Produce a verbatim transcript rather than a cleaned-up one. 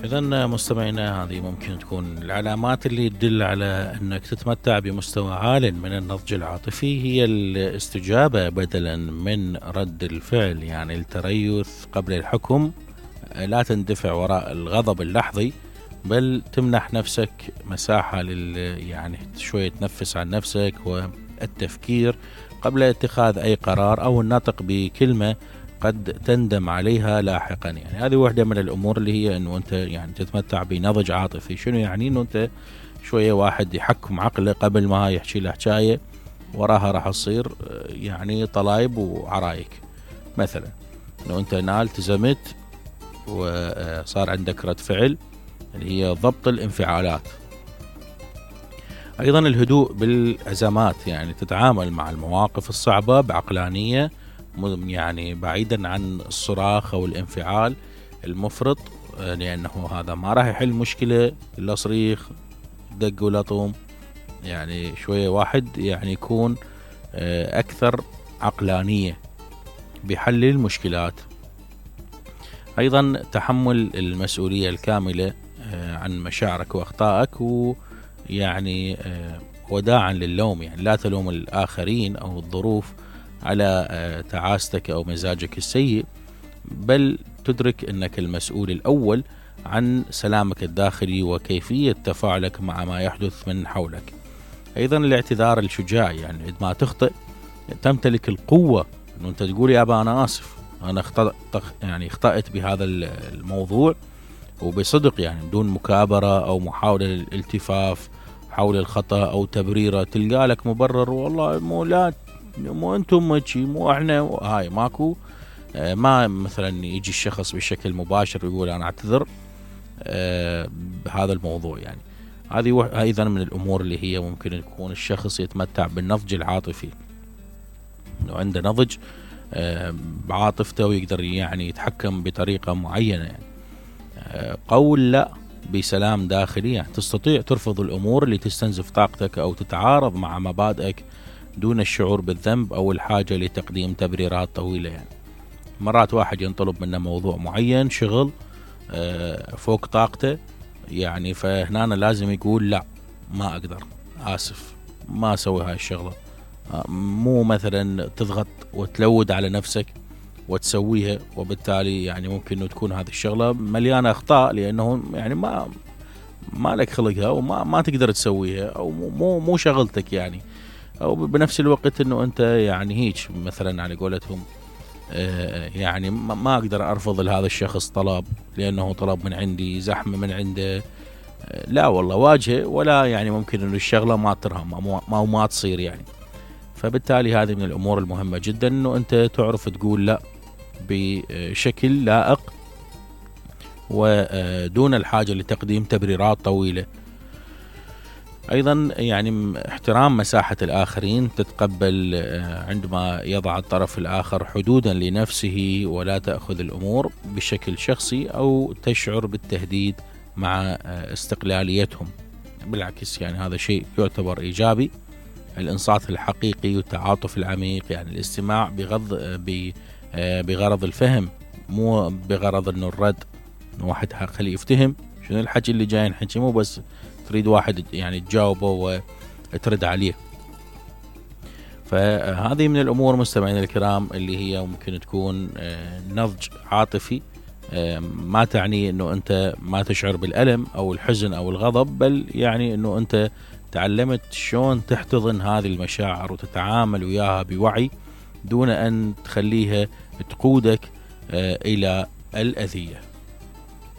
إذن مستمعينا، هذه ممكن تكون العلامات اللي تدل على أنك تتمتع بمستوى عال من النضج العاطفي، هي الاستجابة بدلا من رد الفعل، يعني التريث قبل الحكم، لا تندفع وراء الغضب اللحظي، بل تمنح نفسك مساحة لل يعني شوية تنفس عن نفسك والتفكير قبل اتخاذ أي قرار أو النطق بكلمة قد تندم عليها لاحقا. يعني هذه واحدة من الأمور اللي هي أنه أنت يعني تتمتع بنضج عاطفي. شنو يعني؟ أنه أنت شوية واحد يحكم عقله قبل ما يحكي له حكاية وراها راح تصير يعني طلايب وعرايك. مثلا أنه أنت نال التزمت وصار عندك رد فعل اللي هي ضبط الانفعالات. أيضا الهدوء بالأزمات، يعني تتعامل مع المواقف الصعبة بعقلانية، يعني بعيدا عن الصراخ أو الانفعال المفرط، لأنه هذا ما راح يحل مشكلة إلا صريخ دق ولا طوم. يعني شوية واحد يعني يكون أكثر عقلانية بحل المشكلات. أيضا تحمل المسؤولية الكاملة عن مشاعرك وأخطائك، ويعني وداعا للوم، يعني لا تلوم الآخرين أو الظروف على تعاستك أو مزاجك السيء، بل تدرك أنك المسؤول الأول عن سلامك الداخلي وكيفية تفاعلك مع ما يحدث من حولك. أيضا الاعتذار الشجاع، يعني عندما تخطئ تمتلك القوة أنه أنت تقول يا أبا أنا آسف، أنا اخطأت يعني اخطأت بهذا الموضوع وبصدق، يعني بدون مكابرة أو محاولة للالتفاف حول الخطأ أو تبريره. تلقى لك مبرر، والله مو لا مو أنتم ماشي مو إحنا، هاي ماكو. ما مثلا يجي الشخص بشكل مباشر ويقول أنا أعتذر بهذا الموضوع. يعني هذه أيضا من الأمور اللي هي ممكن يكون الشخص يتمتع بالنضج العاطفي، إنه عنده نضج بعاطفته ويقدر يعني يتحكم بطريقة معينة. يعني قول لا بسلام داخلي، يعني تستطيع ترفض الأمور اللي تستنزف طاقتك أو تتعارض مع مبادئك دون الشعور بالذنب أو الحاجة لتقديم تبريرات طويلة. يعني مرات واحد ينطلب منه موضوع معين، شغل فوق طاقته، يعني فهنا لازم يقول لا ما أقدر، آسف ما أسوي هاي الشغلة. مو مثلا تضغط وتلود على نفسك وتسويها، وبالتالي يعني ممكن أن تكون هذه الشغلة مليانة أخطاء، لأنه يعني ما ما لك خلقها وما ما تقدر تسويها، أو مو مو شغلتك يعني. أو بنفس الوقت أنه أنت يعني هيك مثلا على قولتهم يعني ما أقدر أرفض لهذا الشخص طلب لأنه طلب من عندي، زحمة من عنده، لا والله واجهه، ولا يعني ممكن أنه الشغلة ما ترهم ما ما تصير يعني. فبالتالي هذه من الأمور المهمة جدا، أنه أنت تعرف تقول لا بشكل لائق ودون الحاجة لتقديم تبريرات طويلة. أيضا يعني احترام مساحة الآخرين، تتقبل عندما يضع الطرف الآخر حدودا لنفسه ولا تأخذ الأمور بشكل شخصي أو تشعر بالتهديد مع استقلاليتهم. بالعكس يعني هذا شيء يعتبر إيجابي. الإنصات الحقيقي والتعاطف العميق، يعني الاستماع بغض بغرض الفهم، مو بغرض إنه الرد، إنه واحد خليه يفتهم شنو الحكي اللي جاي نحكي، مو بس تريد واحد يعني تجاوبه وترد عليه. فهذه من الأمور مستمعين الكرام اللي هي ممكن تكون نضج عاطفي. ما تعني إنه أنت ما تشعر بالألم أو الحزن أو الغضب، بل يعني إنه أنت تعلمت شلون تحتضن هذه المشاعر وتتعامل وياها بوعي دون أن تخليها تقودك إلى الأذية.